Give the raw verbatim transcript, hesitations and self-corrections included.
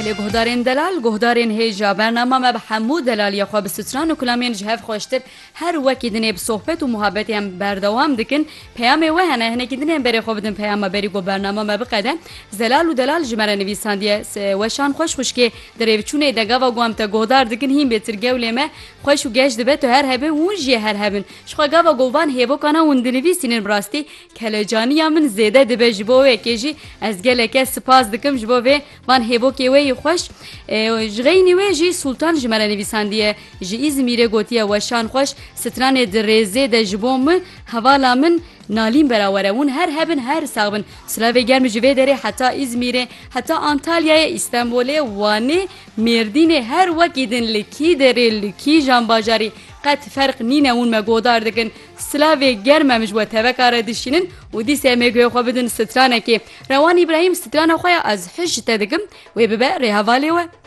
Lê guhdarên delal, guhdarên hêja, bernama me bi hemû delaliya xwe bi stran û kilamên ji hev xweştir her wekî dinê bi sohbet û muhabbetê em berdewam dikin. Peyamê we hene, hinekî dinê em berê xwe bidin peyama berî ku bernama me biqede. Zelal û delal ji me re nivîsandiye, se-, weşan xweş xwişkê, di rêvçûnê de gava ku em te guhdar dikin hîn bêtir gewlê me xweş û geş dibe, tu her hebin hûn jî her hebin. Jixwe gava ku van hêvokana hûn dinivîsînin bi rastî kelecaniya min zêde dibe, ji bo wê yekê jî ez geleke spas dikim ji bo vê van hêvokê we yî xweş. E, ji xeynî wê jî Sultan ji me re nivîsandiye, ji Îzmîrê gotiye, weşan xweş, stranê di rêzê de ji bo min, hevala min Nalîn Berawere. Hûn her hebin, her sax bin. Silavê germ ji vê derê heta Îzmîrê, heta Antalyayê, Îstenbolê, Wanê, Mêrdînê, her wekî din, li kî derê, li kîjan bajarî, qet ferq nîne, hûn me godar dikin. Silavê germ em ji we teveka re dişînin û dîsa em ê guhê xwe bidin stranekê. Rewan Îbrahîm, strana xwe ya Ez Hej ji te dikim, wê bibe rêhevalê we.